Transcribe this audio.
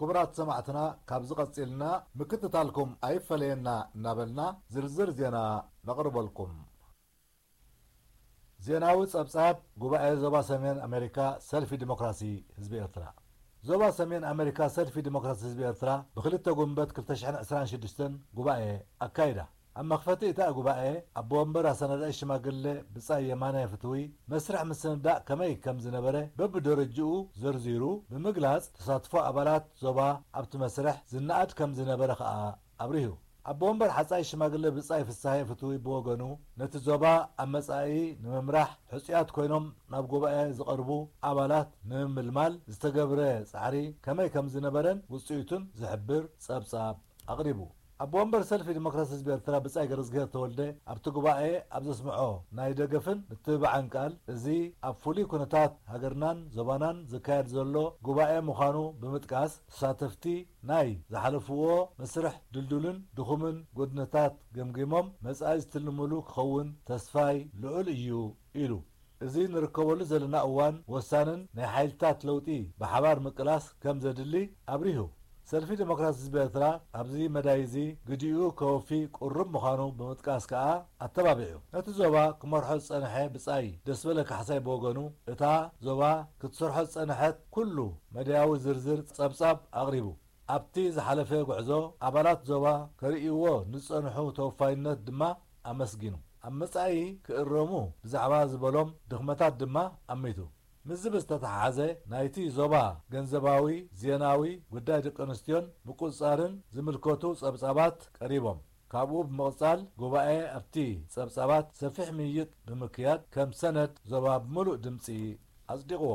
ክቡራት ሰማዕትና፣ ካብዚ ቀጺልና ምክትታልኩም ኣይፈለየና እናበልና ዝርዝር ዜና ነቕርበልኩም። ዜናዊ ጸብጻብ ጉባኤ ዞባ ሰሜን ኣሜሪካ ሰልፊ ዲሞክራሲ ህዝቢ ኤርትራ። ዞባ ሰሜን ኣሜሪካ ሰልፊ ዲሞክራሲ ህዝቢ ኤርትራ ብክልተ ጉንበት ክልተ ሽሕን ዕስራን ሽዱሽተን ጉባኤ ኣካይዳ። ኣብ መኽፈቲ እታ ጉባኤ ኣቦ ወንበር ኣሰናዳኢ ሽማግሌ ብጻይ የማነ ፍትዊ መስርሕ ምስንዳእ ከመይ ከም ዝነበረ በብደረጅኡ ዘርዚሩ ብምግላጽ ተሳትፎ ኣባላት ዞባ ኣብቲ መስርሕ ዝነኣድ ከም ዝነበረ ከኣ ኣብሪሁ። ኣቦ ወንበር ሓጻይ ሽማግሌ ብጻይ ፍስሃየ ፍትዊ ብወገኑ ነቲ ዞባ ኣብ መጻኢ ንምምራሕ ሕጹያት ኮይኖም ናብ ጉባኤ ዝቐርቡ ኣባላት ንምምልማል ዝተገብረ ጻዕሪ ከመይ ከም ዝነበረን ውጽኢቱን ዝሕብር ጸብጻብ ኣቕሪቡ። ኣቦ ወንበር ሰልፊ ዲሞክራሲ ህዝቢ ኤርትራ ብጻይ ገረዝግሄር ተወልደ ኣብቲ ጉባኤ ኣብ ዘስምዖ ናይ ደገፍን ምትብባዕን ቃል፣ እዚ ኣብ ፍሉይ ኩነታት ሃገርናን ዞባናን ዝካየድ ዘሎ ጉባኤ ምዃኑ ብምጥቃስ፣ ተሳተፍቲ ናይ ዝሓለፍዎ መስርሕ ድልዱልን ድኹምን ጎድነታት ገምጊሞም መጻኢ ዝትልምሉ ክኸውን ተስፋይ ልዑል እዩ ኢሉ። እዚ ንርከበሉ ዘለና እዋን ወሳንን ናይ ሓይልታት ለውጢ ብሓባር ምቅላስ ከም ዘድሊ ኣብሪሁ። ሰልፊ ዲሞክራሲ ህዝቢ ኤርትራ ኣብዚ መዳይ እዚ ግዲኡ ከወፊ ቅሩብ ምዃኑ ብምጥቃስ ከኣ ኣተባቢዑ። ነቲ ዞባ ክመርሖ ዝጸንሐ ብጻይ ደስበለ ካሕሳይ ብወገኑ፣ እታ ዞባ ክትሰርሖ ዝጸንሐት ኩሉ መዳያዊ ዝርዝር ጸብጻብ ኣቕሪቡ። ኣብቲ ዝሓለፈ ጉዕዞ ኣባላት ዞባ ከርእይዎ ንዝጸንሑ ተወፋይነት ድማ ኣመስጊኑ። ኣብ መጻኢ ክእረሙ ብዛዕባ ዝበሎም ድኽመታት ድማ ኣሚቱ። ምስዚ ብዝተተሓሓዘ ናይቲ ዞባ ገንዘባዊ፣ ዜናዊ፣ ጉዳይ ደቂ ኣንስትዮን ምቁጽጻርን ዝምልከቱ ጸብጻባት ቀሪቦም። ካብኡ ብምቕጻል ጉባኤ ኣብቲ ጸብጻባት ሰፊሕ ምይይጥ ብምክያድ ከም ሰነድ ዞባ ብምሉእ ድምጺ ኣጽዲቕዎ።